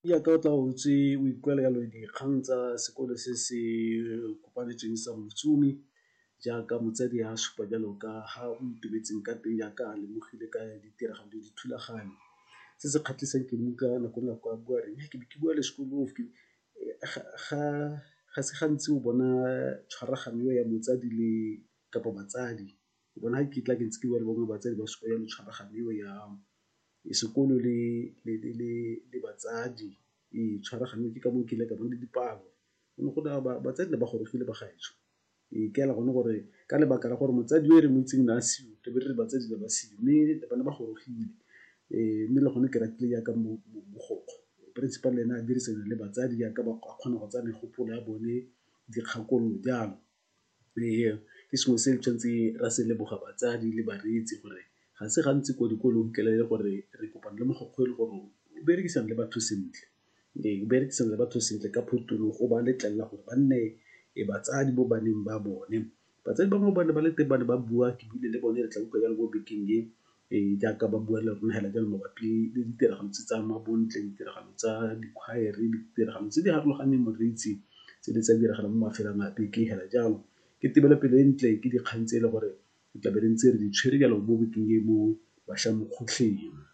Jaaka o tla o ntse o ikuela jalo dikgang tsa sekolo se se kopanetsweng sa Motsumi jaaka motsadi a supa jalo ka ga o itumetseng ka teng jaaka a lemogile ka ditiragalo le dithulaganyo. Se se kgatlhisang ke mo utlwa nako le nako a bua a re ke be ke bua le sekolo ga se gantsi o bona tshwaragano e ya motsadi le kapa batsadi, o bona ga ke tla ke ntse ke bua le bone batsadi ba supa jalo tshwaragano eo ya sekolo le batsadi. Ee, tshwaragano ke ka moo nkile ka bona le dipalo, go ne gona batsadi ne ba gorogile bagaetsho. Ee, ke ela gone gore ka lebaka la gore motsadi yo re mo itseng ne a seo re be re re batsadi ne ba seo mme ba ne ba gorogile. Mme le gone ke ratile jaaka mogokgo, principal le ene a dirisana le batsadi jaaka ba kgona go tsaya megopolo ya bone, dikgakololo jalo. Ee, ke sengwe se tshwanetseng ra se leboga batsadi le bareetsi gore ga se gantsi ko dikolong o fitlhele e le gore re kopana le mogokgo e le gore o berekisana le batho sentle. Ee, o berekisana le batho sentle ka phuthulogo o ba letlelela gore ba nne batsadi mo baneng ba bone. Batsadi bangwe ba ne ba le teng ba ne ba bua, ke buile le bone re tla utlwa jalo mo bekeng e jaaka ba bua le rona hela jalo mabapi le ditiragalo tse tsa mmabontle, ditiragalo tsa dikhwaere, ditiragalo tse di farologaneng moreetsi tse di tsa diragalang mo mafelong a beke hela jalo. Ke tebelopele e ntle, ke dikgang tse e le gore re tlabe re ntse re di tshwere jalo mo bekeng e mo bašwa mo kgotleng.